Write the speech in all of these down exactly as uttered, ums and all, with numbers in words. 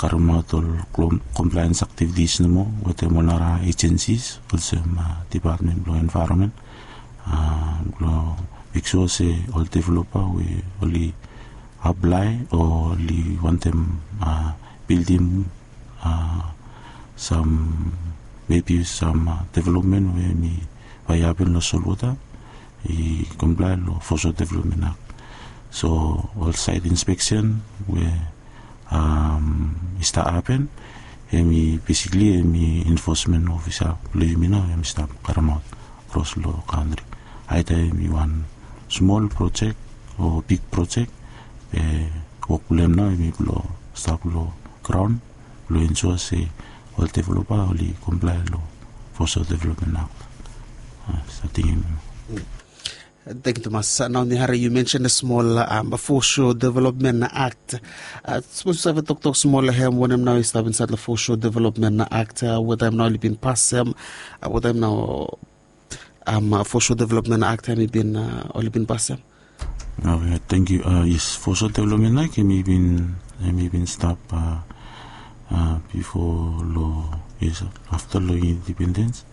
karemaot ol komplaens aktivitis nomo wetem ol nara ejensis olsem dipatmen blong envaeronmen blong mek sua se ol developa we oli aplae o oli wantem bildim sam mebi sam developmen we mi bai hapen long solwota i komplae long foso developmen akt. So ol saet inspeksen we i stap hapen em i besikli em i enfosmen ofisa blong yumi nao em i stap karemaot kros long kantri. Aida em i wan smol projek o bik projek be wok blong em nao em i blong stap long graon blong ensua se ol developa oli komplae long foso developmen akt. Sating em. Thank you tumas. Nao mi hari yu mention a smol foso development act. Sapos yu save toktok smol long hem wanem nao i stap insait long foso development act, wetaem nao oli bin pasem, wetaem nao foso development act hem i bin oli bin pasem. Oke, thank yu. Yes, foso development act hem i bin hem i bin stap bifo long yes afta long indipendens.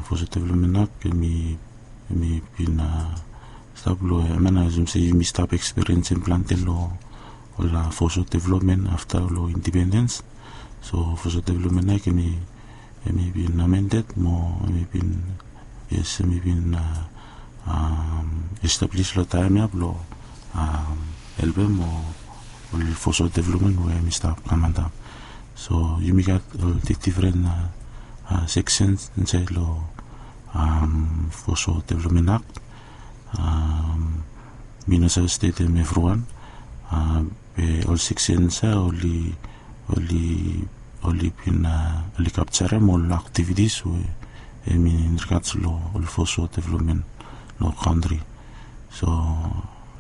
Foso development act hem i bin stap long em ya nao asum se yumi stap ekspiriensim plante long ol foso development afta long indipendens. So foso development act hem i bin amendet mo hem i bin yes hem i bin establis long taem ya blong helpem ol foso development we hem i stap kam antap. So yumi gat ol difdifren seksens insaed long foso development act. Mi no save stetem evriwan be ol seksens ya oli oli oli bin oli kapjarem ol aktivitis we hem i in rigats long ol foso development long kantri. So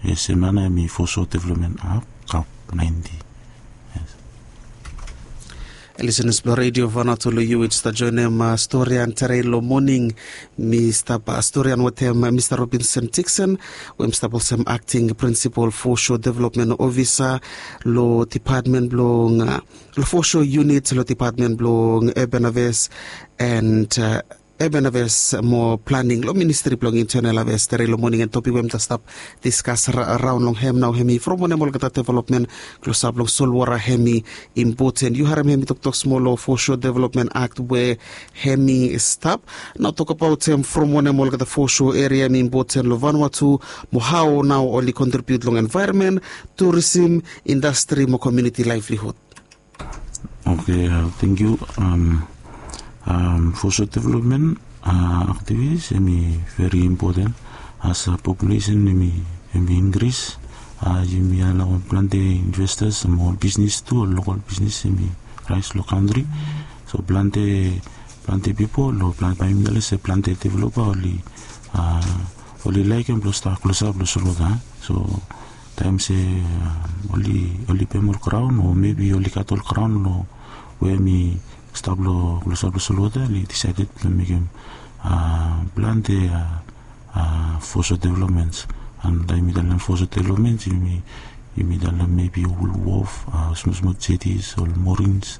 yes em ya nao hem i foso development act kap naenti. Yes. Lisenas blong redio vanatu long yu i stap joinim storian terei long moning. Mi stap storian wetem mista Robinson Tikson we hem stap olsem akting prinsipal foso development ofisa long dipatmen blong long foso yunit long dipatmen blong urban aves and urban aves mo planing long ministri blong intenel aves terei long moning and topik we hem ta stap diskas raon long hem nao hem i from wanem olgeta developmen klosap long solwota hem i impoten. Yu harim hem i toktok smol long foso developmen akt we hem i stap. Nao tokabaot hem from wanem olgeta foso eria hem i impoten long vanua tu mo hao nao oli kontribiut long envaeronmen, turisim, indastri mo komiuniti laevlihud. Oke, tengkiu. Foso developmen aktivitis hem i veri impoten as populesen hem i inkris. Yumi alaoem plante investas mo ol bisnis tu ol lokal bisnis hem i raes long kantri. So plante plante pipol o plante bae yumi talem se plante developa oli a oli laekem blong stap klosap long solwota. So taem se oli oli pem ol graon o mebi oli gat ol graon long we hem i stap long klosap long solwota oli disaeded blong mekem a plante a foso developmens. An taem yumi talem foso developmens yumi yumi talem mebi ol wof, a smosmos jetis, ol morins,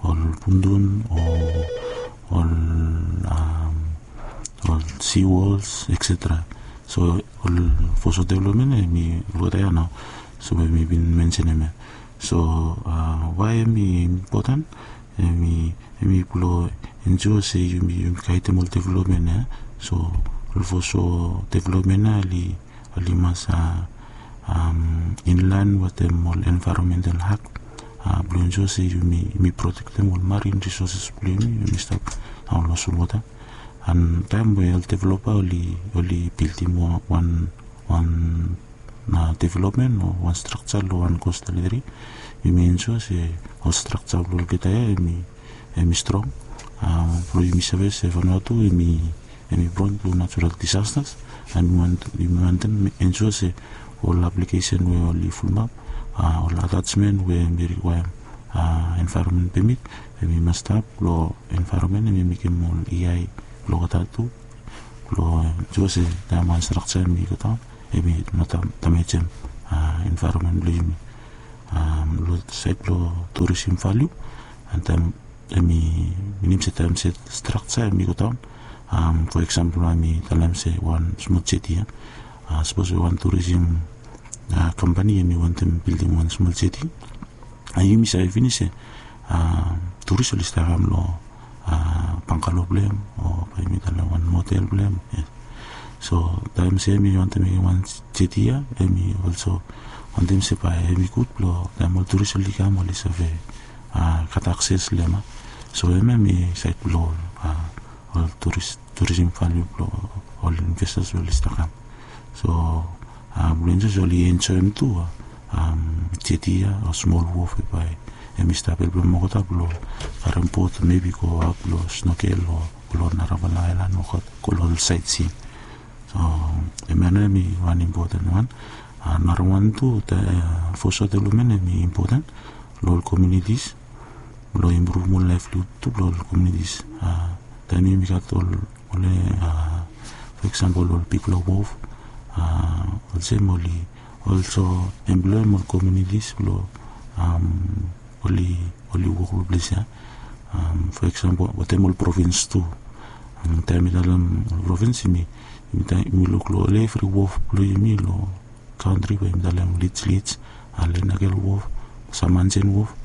ol pundun o ol a ol siwols etsetera. So ol foso developmen hem i olgeta ya nao. So we mi bin mensenem ya. So a wae hem i impoten hem i hem i blong ensua se yumi yumi gaedem ol developmen ya. So ol foso developmen ya oli oli mas a inlaen wetem ol envaeronmental akt a blong ensua se yumi yumi protektem ol marin risoses blong yumi yumi stap daon long solwota. An taem we ol developa oli oli bildim wan wan developmen o wan strakja long wan kostal eria yumi ensua se ol strakja blong olgeta ya hem i hem i strong. Blong yumi save se vanua tu hem i hem i pron long natural disastas. An yumi wantem ensua se ol aplikesen we oli fulumap a ol atajmen we hem i rikwaem a envaeronmen pemit hem i mas stap blong envaeronmen hem i mekem ol iai blong olgeta tu blong ensua se taem wan strakja hem i godaon hem i no damajem a envaeronmen blong yumi. Long sait blong turisim valiu. An taem em i minim se taem se straksa em i godaon, fo eksampol em i talem se wan smol jeti ya. Sapos we wan turisim kampani em i wantem bildim wan smol jeti, yumi save finis se turis oli stap kam long bangalo blong em o bae yumi talem wan motel blong em. So taem se em i wantem mekem wan jeti ya, em i olso wantem se bae em i gud blong taem ol turis oli kam oli save gat akses long em. So em em i sait blong ol turisim valiu blong ol investas we oli stap kam. So blong enjoy oli enjoem tu jeti ya o smol wof we bae em i stap helpem olgeta blong karem bot mebi go aot long snokel o go long narafala aelan o go long ol saitsin. So em ya nao em i wan impoten wan. Narawan tu, fosho developmen em i impoten long ol komiunitis blong impruvum ol laevlihud tu blong ol komiunitis. Taem yumi gat ol, ol fo eksampol ol bigfala wof, olsem oli olso emploem ol komiunitis blong oli, oli wok long ples ya. Fo eksampol wetem ol provins tu. Taem mi talem ol provins, yumi, yumi luk long ol evri wof blong yumi long kantri we yumi talem Lij, Lij, Lenakel wof, Samanjen wof.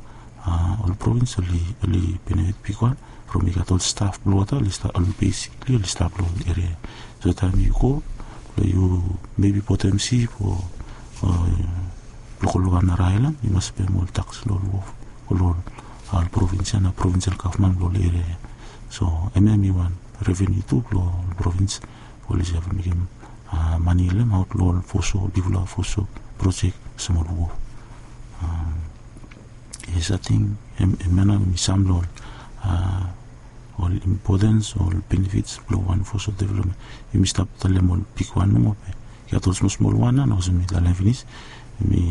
Ol provins oli, oli benefit bigwan from i gat ol staf blong olgeta oli stap, ol besikli oli stap long ol eria. So taem yu go blong yu mebi botem sip o blong go long wan nara aelan, yu mas pem ol taks long ol wof, long ol provins ya na provinsel gavman blong ol eria ya. So em ya em i wan reveniu tu blong ol provins we oli save mekem mane long em aot long ol fosho, bigfala fosho projek olsem ol wof. Yes, ating em ya nao em i sam long ol impotens o ol benefits blong wan fosho developmen. Yumi stap talem ol bigwan nomo be i gat ol smolsmol wan nao olsem mi talem finis. Em i,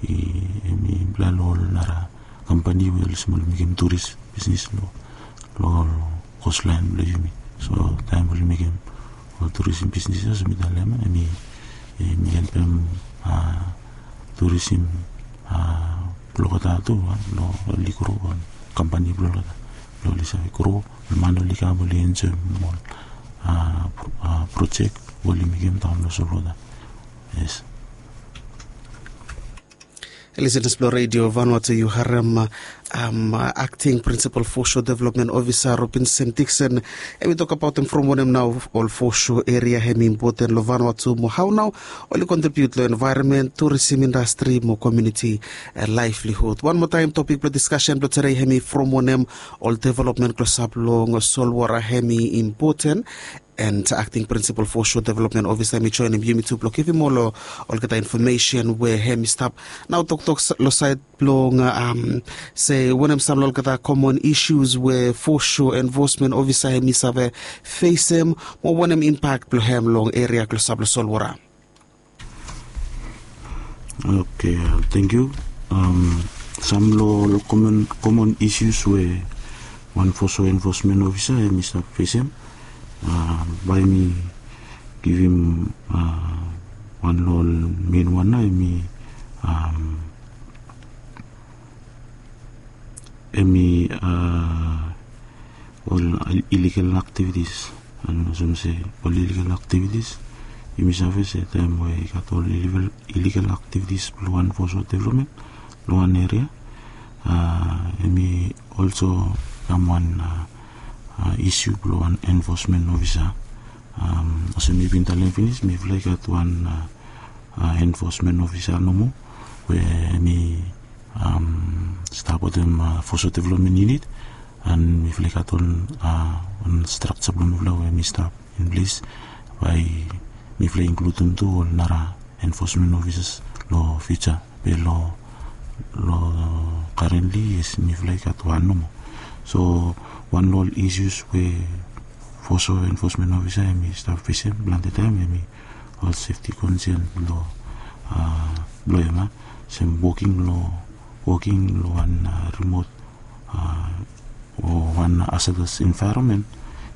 em i aplae long ol nara kampani we olsem oli mekem turis bisnis long, long ol kostlaen blong yumi. So taem oli mekem ol turisim bisnis ya olsem mi talem, em i, em i helpem turisim blong olgeta tu long oli gro, ol kampani blong olgeta blong oli save gro, ol man oli kam oli enjoem ol projek we oli mekem daon long solwota. Yes. Lisenas blong Redio Vanuatu, yu harem akting prinsipal fosho developmen ofisa Robinson Dixon, em i tokbaotem from wanem nao ol fosho eria em i impoten long Vanuatu mo hao nao oli kontribiut long envaeronmen, turisim indastri mo komuniti laevlihud. Wan moa taem, topik blong diskasen blong tede em i from wanem ol developmen klosap long solwota em i impoten. And akting prinsipal fosho developmen ofisa em i joenem yumi tu blong givim ol, olgeta infomesen we em i stap nao toktok long saed blong se wanem sam long olgeta komon isius we fosho enfosmen ofisa em i save fesem, mo wanem impak blong em long eria klosap long solwota. Oke, tangkiu. Sam long ol komon, komon isius we wan fosho enfosmen ofisa em i stap fesem, bae mi givim wan long ol mein wan nao em i, em i ol iligal aktivitis. An olsem se ol iligal aktivitis, yumi save se taem we i gat ol iligal aktivitis blong wan fosho developmen long wan eria, em i olso kam wan isiu blong wan enfosmen ofisa. Olsem mi bin talem finis, mifala i gat wan enfosmen ofisa nomo we em i stap wetem fosho developmen yunit. An mifala i gat ol, wan strakja blong mifala we em i stap in ples. Bae mifala i inkludim tu ol nara enfosmen ofisas long fiuja. Be long, long karentli, yes, mifala i gat wan nomo. So wan long ol isius we fosho enfosmen ofisa em i stap fesem plante taem em i ol sefti konsen blong, blong em, olsem woking long, woking long wan rimot o wan hazardous envaeronmen,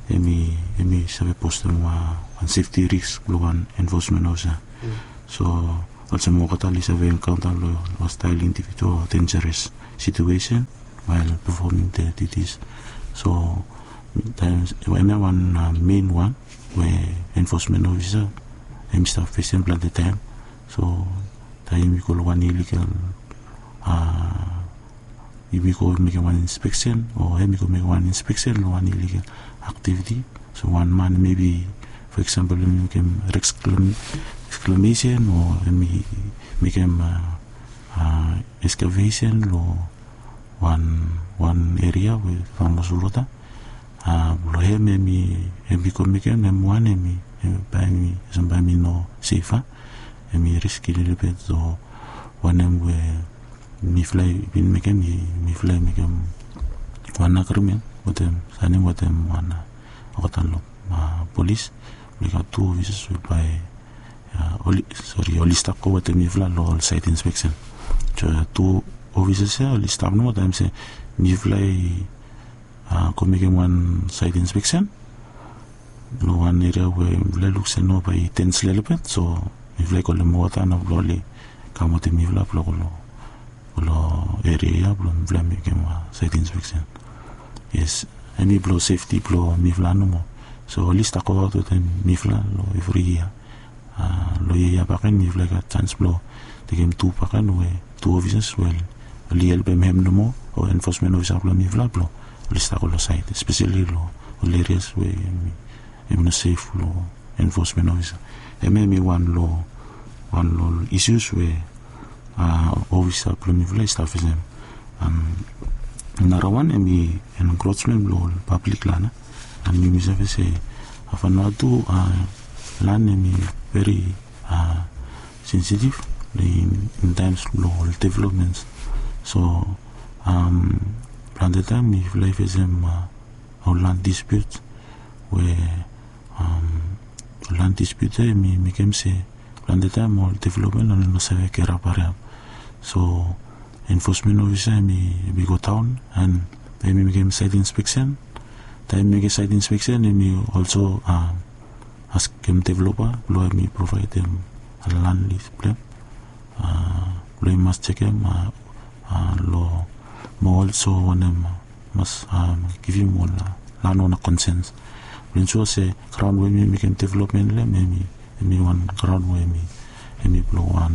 em i, em i save postem wan sefti risk blong wan enfosmen ofisa. So Olsem olgeta oli save enkaunta long hostile individual o dangerous situation while performing their duties. So taem, hemia wan main wan we enforcement officer hemi stap fesem plante taem. So taem yumi go long wan illegal, yumi go mekem wan inspeksen o hemi go mekem wan inspeksen long wan illegal activity. So wan man maybe, for example, hemi mekem reclamation o hemi mekem excavation long wan wan eria we faun long solwota. Blong hem hemi go mekem hem wan hemi bae hemi olsem bae hemi no sef. Hemi riski lelebet. So wanem we mifala i bin mekem, mifala i mekem wan agrimen wetem, saenem wetem wan olgeta long polis. Blong i gat tu ofisas we bae, sori, oli stap go wetem mifala long ol saet inspeksen. So tu ofisas ya oli stap nomo taem se mifala i go mekem wan saet inspeksen long wan eria we mifala i luk se no bae i dens lelebet. So mifala i kolem wota na blong oli kam wetem mifala blong go long eria ya blong mifala mekem saet inspeksen. Yes, hemi blong sefti blong mifala nomo. So oli stap goaot wetem mifala long evri yia. Long yia ya bakegen mifala i gat janis blong tekem tu bakegen we tu ofisas we oli helpem hem nomo o enforcement officer blong mifala blong oli stap go long saet, especially long ol erias we hemi no sef long enforcement officer. Hemia hemi wan long wan long ol issues we ofisa blong mifala i stap fesem. Narawan hemi encroachment blong ol pablik lan. An yumi save se Vanuatu lan hemi veri sensitive in times blong ol developments. So plante taem mifala i fesem ol land dispute we ol land dispute ya hemi mekem se plante taem ol development oli no save gerap hariap. So enforcement officer hemi go daon an hemi mekem saet inspeksen. Taem hemi mekem saet inspeksen hemi also askem developer blong hemi provaedem land lease plan blong i mas jekem long mo also wanem mas givim ol landowner consent blong ensure se graon we hemi mekem development long hem hemi wan graon we hemi blong wan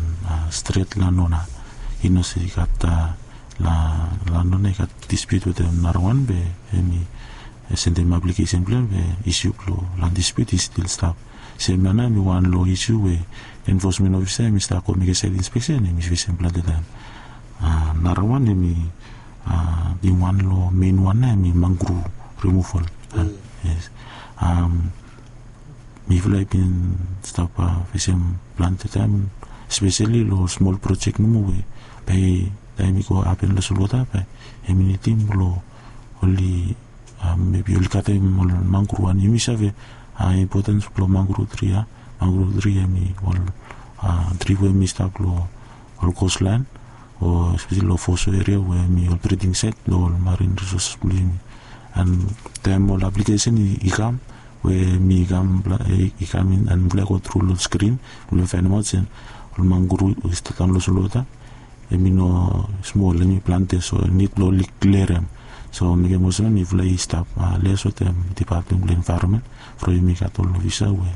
stret landowner. I no se i gat landowner i gat dispute wetem narawan be hemi sendem aplikesen blong hem be issue blong land dispute i stil stap. Sem ya nao hemi wan long issue we enforcement officer hemi stap go mekem saet inspeksen hemi fesem plante taem. Narawan hemi wan long main wan nao hemi mangrove removal. Yes. Mifala i bin stap fesem plante taem, especially long smol projek nomo we bae taem i go hapen long solwota bae hemi nidim blong oli mebi oli katem ol mangrove. An yumi save impotens blong mangrove tri ya. Mangrove tri hemi ol tri we hemi stap long ol coastline o especially long foso eria we hemi ol breeding site blong ol marine resources blong yumi. An taem ol aplikesen i kam we hemi kam i kam in an mifala i go tru long skrin blong faenemaot se ol mangrove i stap daon long solwota hemi no smol, hemi plante, so nid blong oli klirim. So mekem olsem mifala i stap lias wetem department blong envaeronmen from yumi gat ol ofisa we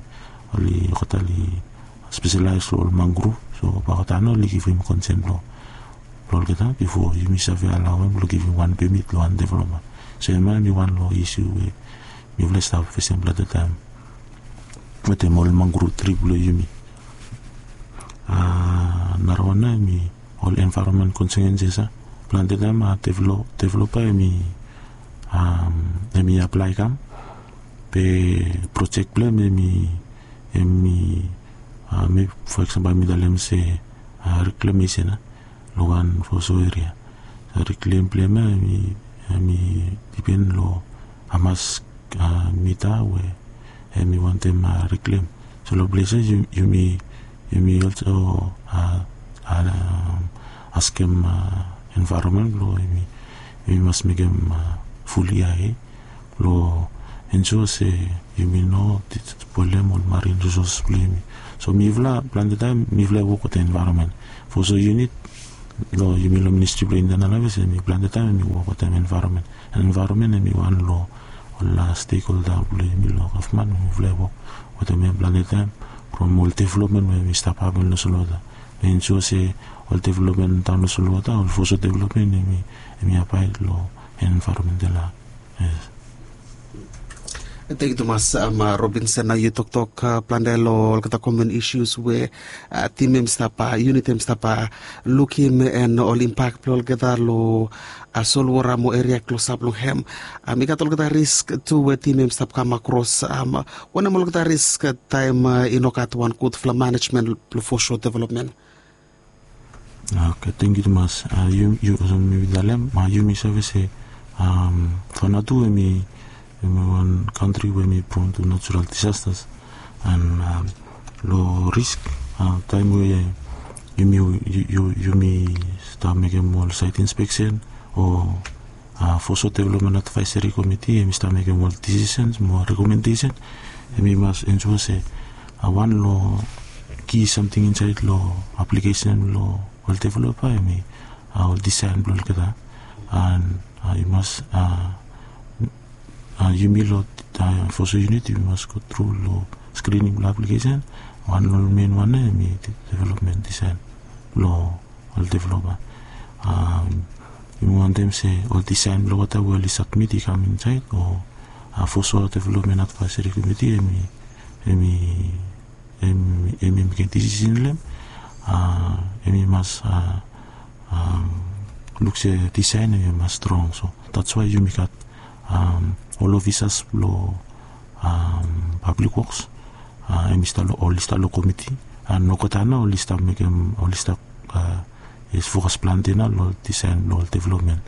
oli olgeta oli speselaes long ol mangrove. So bae olgeta nao oli givim konsen blong olgeta bifo yumi save alaoem blong givim wan pemit long wan developa. So hemia hemi wan long isu we mifala i stap fesem plante taem wetem ol mangrove tri blong yumi. Narawan nao hemi ol envaeronmen konsekenses ya. Plante taem developa hemi aplae i kam be projek blong hem hemi hemi for example mi talem se reklamesen ya long wan foso eria. Reklem blong hem ya hemi dipen long hamas mita we hemi wantem reklem. So long ples ya yumi yumi also askem envaeronmen blong yumi mas mekem ful ia blong ensua se yumi no spoilem ol marin risosas blong yumi. So mifala plante taem mifala i wok wetem envaeronmen. Foso yunit long yumi long ministri blong intenal aves, em i plante taem em i wok wetem envaeronmen. Envaeronmen em i wan long ol stekholda blong yumi long gavman we mifala i wok wetem em plante taem from ol developmen we em i stap hapen long solwota. Ensua se ol developmen daon long solwota, ol foso developmen em i abaed long envaeronmental. Yes. Thank you tumas, Robinson. Nao yu toktok plante long olgeta common issues we tim em stap, yunit em stap lukim, and ol impak blong olgeta long solwota mo eria klosap long hem. Mi gat olgeta risk tu we tim em stap kam akros. Wanem olgeta risk taem i no gat wan gudfala manejmen blong foso developmen? Oke, thank you tumas. Yu, yu olsem mi bin talem, yumi save se Vanuatu em i em i wan kantri we em i pron tu natural disasters. And long risk, taem we yumi, yumi stap mekem ol sait inspeksen o foso developmen advaeseri komiti em i stap mekem ol disisens mo rekomendesen, em i mas ensua se wan long ki samting insaed long aplikesen blong ol developa em i ol disaen blong olgeta. And i mas yumi long foso yunit yumi mas go tru long skrining blong aplikesen. Wan long ol men wan ya em i developmen disaen blong ol developa. Yumi wantem se ol disaen blong olgeta we oli sabmit i kam insaed o foso developmen advaeseri komiti em i em i mekem disisen long em, em i mas luk se disaen em i mas strong. So that's why yumi gat ol ofisas blong pablik woks, em i stap long, oli stap long komiti. And olgeta nao oli stap mekem, oli stap fokas plante nao long disaen blong ol developmen.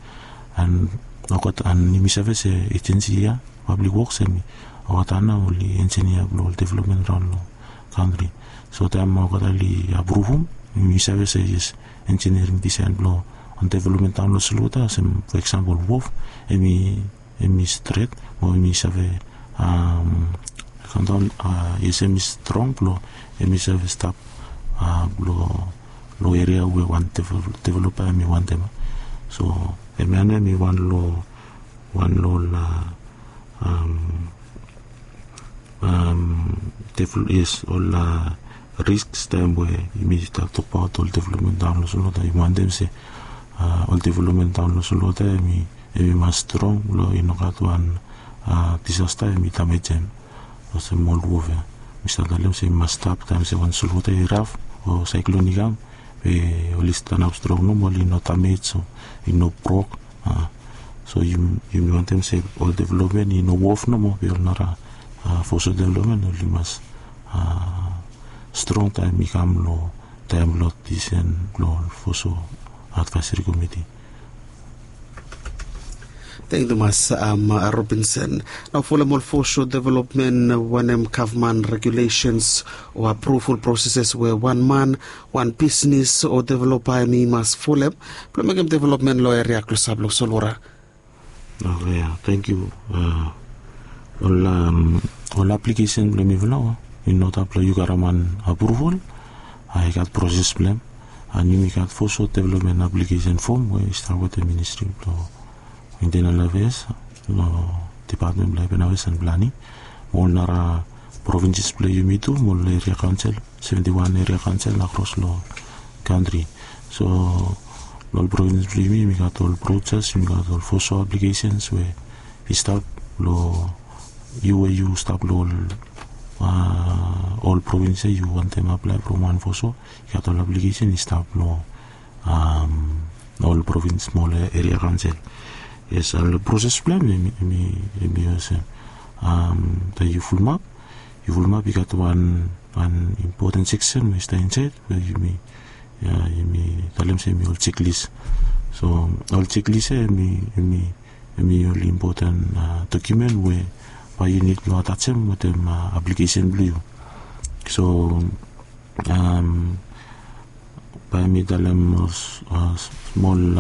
And olgeta, and yumi save se ejensi ya, pablik woks, em i olgeta nao oli enjinia blong ol developmen raon long kantri. So taem olgeta oli apruvum, yumi save se yes, enjiniering disaen blong ol developmen daon long solwota, olsem fo eksampol wof, em i em i stret mo em i save kam daon, yes, em i strong blong em i save stap blong long eria we wan developa em i wantem. So hemia nao em i wan long wan long ol Yes, ol risks taem we yumi stap tokbaot ol developmen daon long solwota, yumi wantem se ol developmen daon long solwota em i mas strong blong i no gat wan disasta em i damejem. Olsem ol wof ya mi stap talem se i mas stap taem se wan solwota i raf o saeklon i kam, be oli stanap strong nomo, oli no damej o i no brok. So yumi wantem se ol developmen i no wof nomo, be ol nara foso developmen oli mas strong taem i kam long taem blong disen blong ol foso advaeseri komiti. Tangkiu tumas, Robinson. Nao folem ol foso developmen, wanem gavman regulesens o apruval proseses we wan man, wan bisnis o developa em i mas folem blong mekem developmen long eria klosap long solwota? Oke, ya, tangkiu. Ol aplikesen blong mifala i no stap long yu garaman apruval. I gat proses blong hem. And yumi gat foso developmen aplikesen fom we i stap wetem ministri blong Internal Affairs long Dipatmen blong Urban Affairs and Planning, mo ol nara provinses blong yumi tu, mo ol eria kaonsel, seventi wan eria kaonsel akros long kantri. So long ol provins blong yumi, yumi gat ol brochas, yumi gat ol foso aplikesens we i stap long yu we yu stap long ol provins ya, yu wantem aplae from wan foso, i gat ol aplikesen i stap long ol provins mo ol eria kaonsel. Yes, ol proses blong hem em i olsem, taem yu fulumap, yu fulumap i gat wan impoten seksen we i stap insaed we yumi talem se em i ol jeklis. So ol jeklis ya em i ol impoten dokiumen we bae yu nid long atajem wetem aplikesen blong yu. So bae mi talem ol smol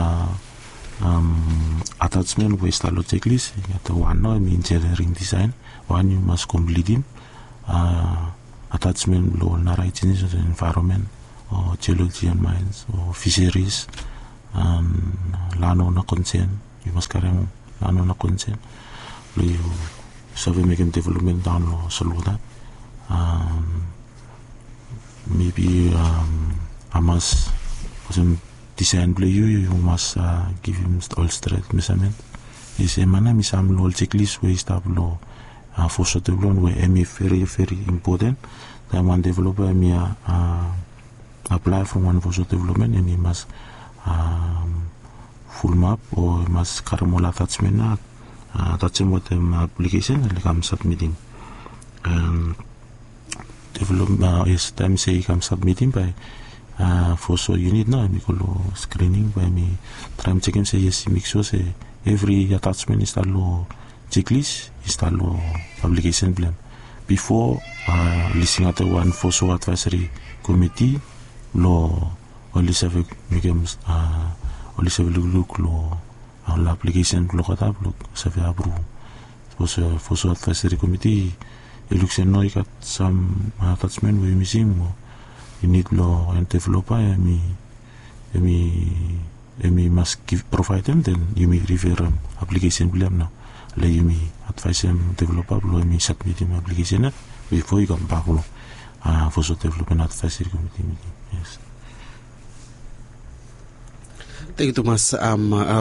Atasmen we i stap long cheklis i gat wan nao, em i injiniring disaen. Wan yu mas komplitim. Atasmen blong ol nara ajensis o envaeronmen o jioloji en maens o fiseris, lan ona konsen. Yu mas karim lan ona konsen blong yu save mekem developmen daon long solwota. Mebi hamas olsem disaen blong yu, yu mas givim ol stret mesamen. Isi mana mi sam long ol cheklis we i stap long foso developmen we em i veri veri impoten. Taem wan developa em i aplae from wan foso developmen, em i mas fulumap o i mas karim ol atasmen na atasim wetem aplikesen oli kam sabmitim. Develop yes, taem se i kam sabmitim bae foso yunit nao em i go long skrining bae em i traem jekem se yes, i mek sua se evri atasmen i stap long cheklis i stap long aplikesen blong em. Bifo oli singaotem wan foso advaeseri komiti blong oli save mekem oli save lukluk long ol aplikesen blong olgeta blong save apruv. Sapos foso advaeseri komiti i luk se nao i gat sam atasmen we i mising o i nid blong wan developa em i em i mas provaedem, den yumi riferem aplikesen blong em nao. Long yumi advaesem developa blong em i sabmitim aplikesen ya bifo i kambak long foso developmen advaeseri komiti miting. Yes. Tangkiu tumas.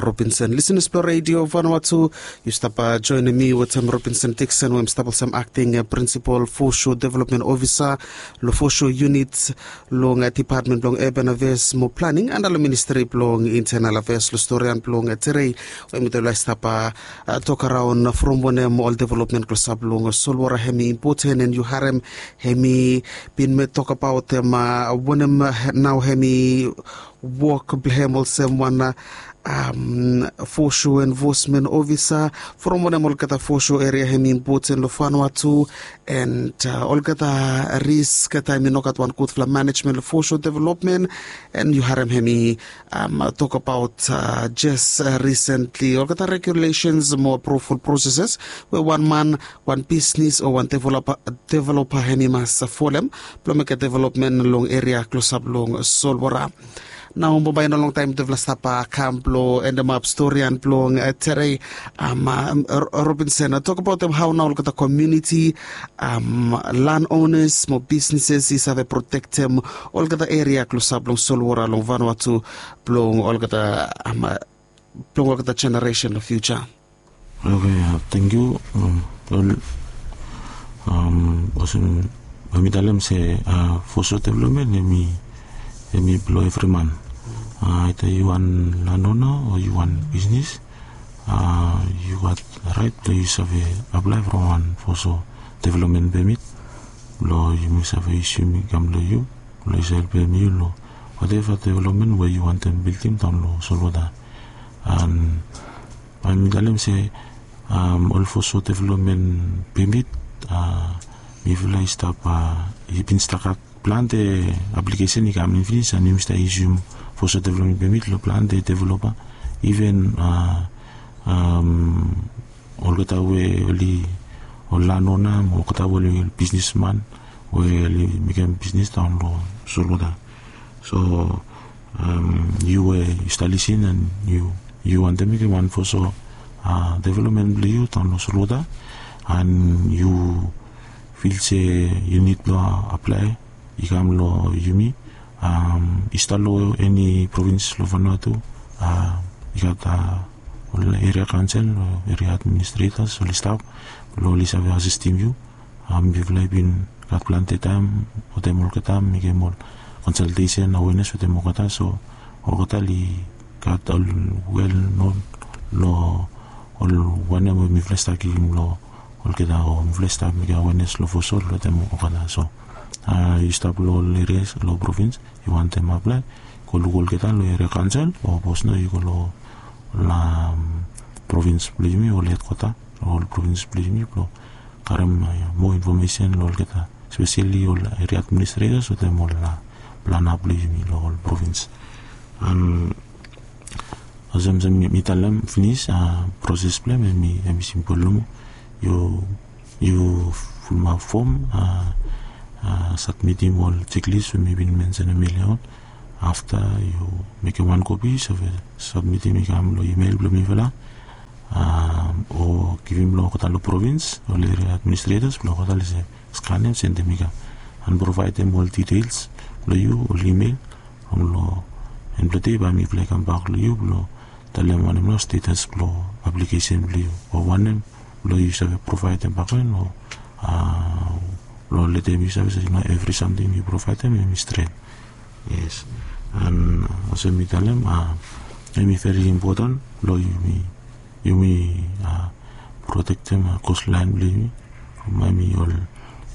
Robinson, lisenas blong redio Vanuatu, yu stap joenem mi wetem Robinson Dixon we em stap olsem akting prinsipol fosho developmen ofisa long fosho yunit long dipatmen blong urban afeas mo planing anda long ministri blong intenal afeas long storian blong terei we mitufala i stap tokaraon from wanem ol developmen klosap long solwora hem i impoten and yu harem hem i bin met tokabaot hem wanem nao hem i wok blong hem olsem wan fosho enfosmen ofisa from wanem olgeta fosho eria hem i impoten long Vanuatu and olgeta risk taem i no gat wan gudfala manejmen long fosho developmen. And yu harem hem i tokabaot jes risentli olgeta regulesens mo apruvol proseses we wan man, wan bisnis o wan developa hem i mas folem blong mekem developmen long eria klosap long solwora. Nao bambae i no longtaem mitufala stap kam blong endemap storian blong terei. Robinson, tokabaotem hao nao olgeta komuniti, lan onas mo bisnises i save protektem olgeta eria klosap long solwora long Vanuatu blong olgeta blong olgeta jeneresen long fiuja. Oke, tangkiu. Olsem bae mi talem se foso developmen hem i blong evri man. Aeta yu wan lanona o yu wan bisnis, yu gat raet blong yu save aplae from wan foso developmen pemit blong yumi save yusim i kam long yu blong i save helpem yu long wateva developmen we yu wantem bildim daon long solwota. And bae mi talem se ol foso developmen pemit mifala i stap i bin stap gat plante aplikesen i kam in finis and yumi stap yusim foso developmen pemit long plante developa. Iven olgeta we oli ol lanona mo olgeta we oli ol bisnisman we oli mekem bisnis daon long solwota. So yu we yu stap lisin and yu wantem mekem wan foso developmen blong yu daon long solwota and yu fil se yu nid blong aplae i kam long yumi. I stap long eni provins long Vanuatu i gat ol eria kaonsel, eria administretas oli stap blong oli save asistim yu. Mifala i bin gat plante taem wetem olgeta mekem ol konsaltesen awenes wetem olgeta so olgeta oli gat ol wel non long ol wanem we mifala i stap givim long olgeta o mifala i stap mekem awenes long foso wetem olgeta. So yu stap long ol erias long provins yu wantem aplae, go luk olgeta long eria kaonsel o sapos nao yu go long ol provins blong yumi ol hedkwata long ol provins blong yumi blong karem moa infomesen long olgeta, espeseli ol eria administretas wetem ol plana blong yumi long ol provins. And Olsem mi talem finis, proses blong em em i simpol nomo. Yu yu fulumap fom, satmitim ol jeklis we mi bin mensenem elia on. Afta yu mekem wan kopi yu save satmitim i kam long imel blong mifala, o givim long olgeta long provins ol eria administretas blong olgeta long se skanem sendem i kam an provaedem ol details blong yu ol imel. From long en blong dei bae mifala i kambak long yu blong talem wanem nao stetas blong aplikesen blong yu o wanem blong yu save provaedem bakegen o blong letem yu save se nao evri samting yu provaedem em i stret. Yes. An olsem mi talem, em i veri impoten blong yumi yumi protektem kostlaen blong yumi. Bae mi ol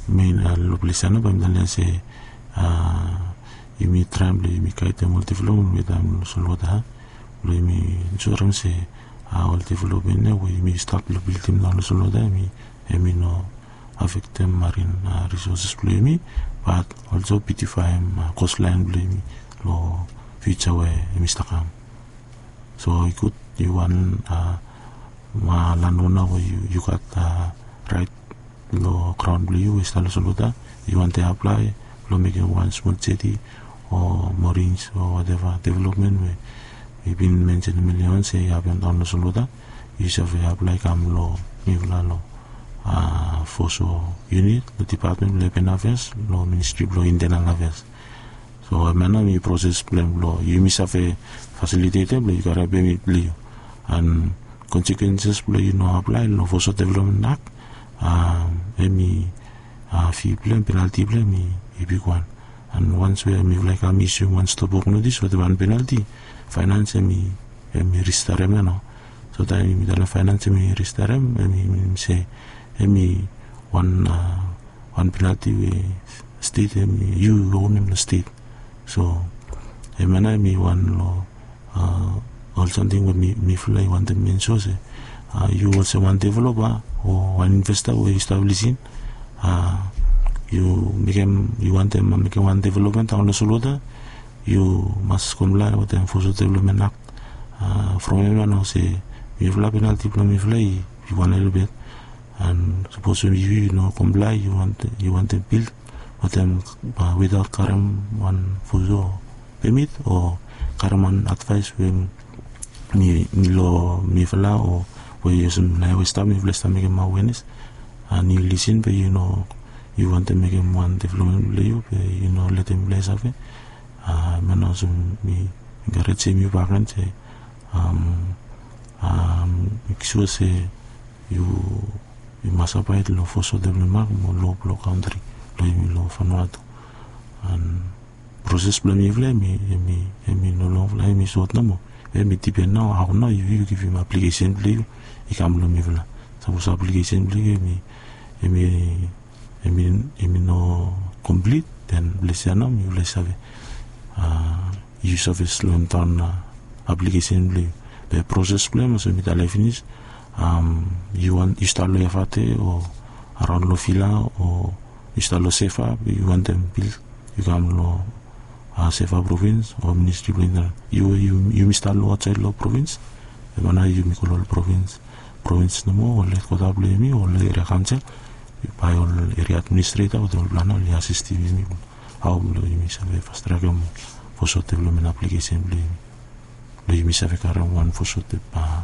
mein long ples ya nao bae mi talem se yumi traem blong yumi gaedem ol developmen we taem long solwota blong yumi ensurem se ol developmen ya we yumi stap long bildim nao long solwota em i no afektem marin risoses blong yumi, bat olso bitifaem kostlaen blong yumi long fiuja we em i stap kam. So i gud yu wan lanona we yu gat raet long graon blong yu we i stap long solwota, yu wantem aplae blong mekem wan smol jeti o morins o wateva developmen we mi bin mensenem elia on se i hapem daon long solwota, yu save aplae kam long mifala long foso yunit long dipatmen blong epen afeas long ministri blong intenal afeas. So em ya nao em i proses blong em blong yumi save fasilitetem blong yu karem pemit blong yu. An konsekwenses blong yu no aplae long foso developmen ak em i fi blong em penalti blong em i bigwan. An wans we mifala i kam isium wan stop wok notis wetem wan penalti, faenans em i ristarem ya nao. So taem mi talem faenans em i ristarem em i minim se em i wan wan penalti we stet em yu onem long stet. So em ya nao em i wan long ol samting we mifala i wantem menso se yu olsem wan developa o wan investa we yu stap lisin, yu mekem yu wantem mekem wan developmen daon long solwota, yu mas komplae wetem foso developmen ak. From em ya nao se mifala penalti blong mifala i wan helebet. An sapos yu no komplae yu wantem bil wetem witaot karem wan foso pemit o karem wan advaes we mi long mifala o we olsem naoia we stap mifala i stap mekem awenes. An yu lisin be yu no yu wantem mekem wan developmen blong yu be yu no letem mifala i save. Em ya nao olsem mi enkarejem yu bakegen se mek sua se yu mas abaed long foso developmen ak mo lo blong kantri blong yumi long Vanuatu. An proses blong mifala em i no longfala, em i sot nomo. Em i dipen nao hao nao yu givim aplikesen blong yu i kam long mifala. Sapos aplikesen blong yu em i em i no komplit, den ples ya nao mifala i save yu save slomdaon aplikesen blong yu. Be proses blong em olsem mi talem finis, yu stap long F R T o araon long Vila o yu stap long Seva be yu wantem bil, yu kam long Seva provins o ministri blong interior. Yu we yumi stap long aotsaed long provins, em ya nao yumi go long ol provins provins nomo ol hedkwata blong yumi ol eria kaonsel, bae ol eria administreta wetem ol plana oli asistim yumi hao blong yumi save fastrakem foso developmen aplikesen blong yumi blong yumi save karem wan foso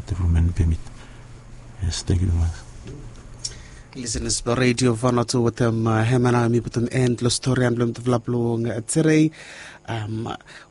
developmen pemit. Yes, tangkiu tumas. Lisenas blong redio Vanuatu, wetem hemia nao mi putum en long stori an blong mitufala blong tedei.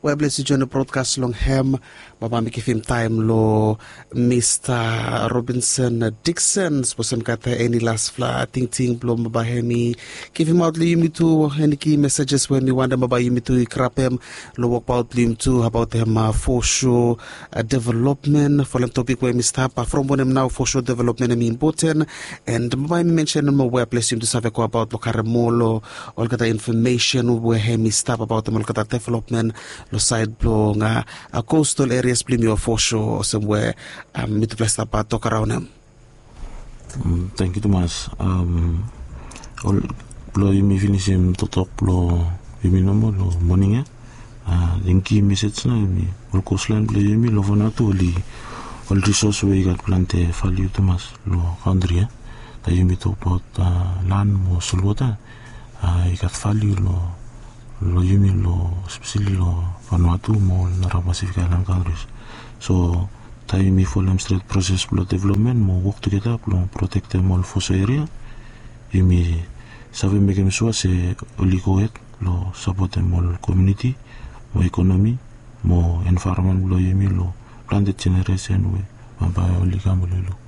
Weaples yu joen long brodkas long hem, bambae mi givim taem long Mista Robinson Dikson sapos hem gat eni lasfala tingting blong bambae hem i givimaot long yumi tu, eni ki mesejes we hem i wantem bambae yumi tu i grabem long wokbaot blong yumi tu abaot hem foso developmen folem topik we hem i stap from wanem nao foso developmen hem i impoten. And bambae hem i mensenem weaples yumi tu save go abaot long karem moa long olgeta infomesen we hem i stap abaotem olgeta developmen long saed blong kostal erias blong yumi o foso olsem we mitufala i stap tok araon hem. Tangkiu tumas. Blong yumi finisim toktok blong yumi nomo long moning ya. Inki mesej na yumi ol kostlaen blong yumi long Vanuatu oli ol risos we i gat plante valiu tumas long kantri ya. Taem yumi tokbaot lan mo solwota, i gat valiu long yumi long speseli long Vanuatu mo ol nara Pasifik Aelan kantris. So taem yumi folem stret proses blong developmen mo wok tugeta blong protektem ol foso eria, yumi save mekem sua se oli gohed blong sapotem ol komuniti mo ekonomi mo envaeronmen blong yumi long plante jeneresen we bambae oli kam oli luk.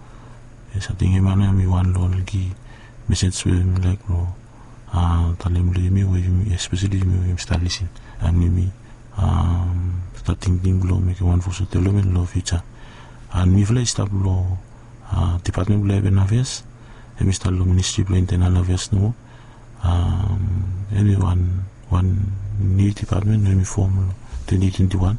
Yes, ating em ya nao em i wan long ol ki mesej we mi laik long talem long yumi we yumi espeseli yumi we yumi stap lisin, and yumi stap tingting blong mekem wan foso developmen long fiuja. And mifala i stap long dipatmen blong Urban Affairs, em i stap long Ministri blong Internal Affairs nomo. Em i wan wan niu dipatmen we mi fom long twenti twenti wan.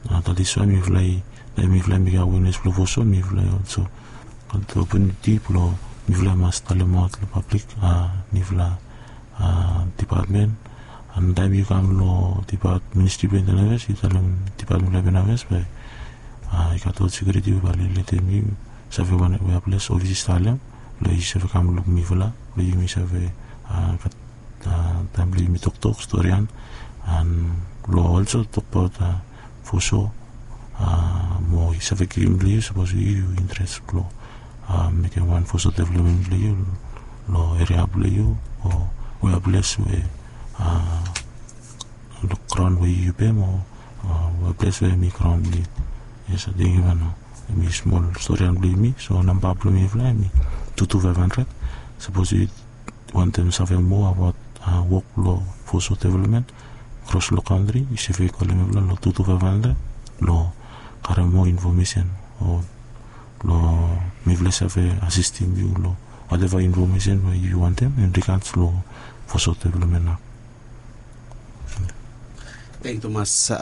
That is why mifala i mifala i mekem awenes blong foso, mifala i olso gat opportunity blong mifala i mas talemaot long pablik nifala dipatmen. And taem yu kam long dipatmen, Ministri blong Internal Affairs, yu talem dipatmen blong Urban Affairs bae i gat ol sekiuriti we bae oli letem yu save wan wea ples, ofis i talem blong yu save kam luk mifala blong yumi save gat taem blong yumi toktok storian. And long olso tokbaot foso mo i save givim blong yu sapos yu interes blong mekem wan foso developmen blong yu long eria blong yu o wea ples we long graon we yu pem o wea ples we em i graon blong yu. Yes, ating em ya nao em i smol storian blong yumi. So namba blong mifala em i tu tu faef handred. Sapos yu wantem save moa abaot wok blong foso developmen kros long kantri, yu save kolem mifala long tu tu faef handred blong karem moa infomesen o blong mifala i save asistem yu long wateva infomesen we yu wantem in regards long foso developmen nao. Tangkiu tumas,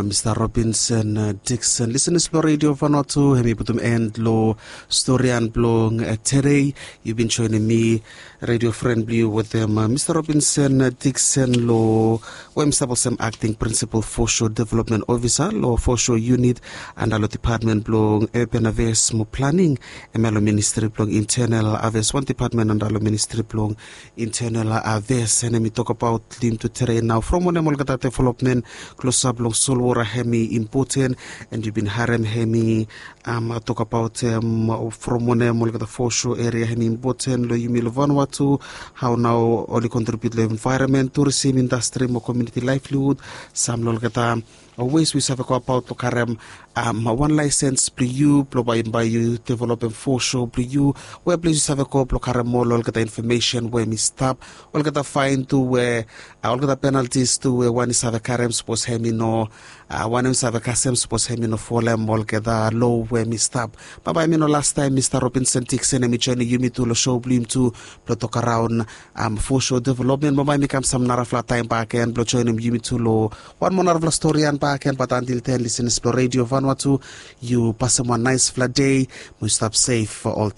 Mista Robinson Dixon. Lisenas blong Redio Vanuatu, hem i putum en long storian blong tede. Yu bin joenem mi, redio fren blong yu, wetem Mista Robinson Dixon long we hem i stap olsem akting prinsipal fosho developmen ofisa long fosho yunit anda long dipatmen blong Urban Affairs mo Planing, hemia long Ministri blong Internal Affairs, wan dipatmen anda long Ministri blong Internal Affairs. And hem i tokbaot long yumi tu tede nao from wanem olgeta developmen klosap long solwota hem i impoten. And yu bin harem hem i tokbaot from wanem olgeta fosho eria hem i impoten long yumi long Vanuatu, hao nao oli kontribiut long envaeronmen, turisim, indastri mo komuniti laevliwud, sam long olgeta wes we yu save go abaot long karem wan laesens blong yu blong bae yu developem fosho blong yu, wea ples yu save go blong karem ol olgeta infomesen we hem i stap, olgeta faen tu we olgeta penaltis tu we wan i save karem sapos hem i no wanem i save kasem sapos hem i no folem olgeta loa we hem i stap. Bambae hem i no lastaem Mista Robinson Dixon hem i joenem yumi tu long sou blong yumi tu blong tokaraon fosho developmen. Bambae hem i kam sam narafala taem bakegen blong joenem yumi tu long wan moa narafala storian bakegen. Bat antil ten, lisenas blong Redio Vanuatu, yu pasem wan naesfala dei mo yu stap sef ol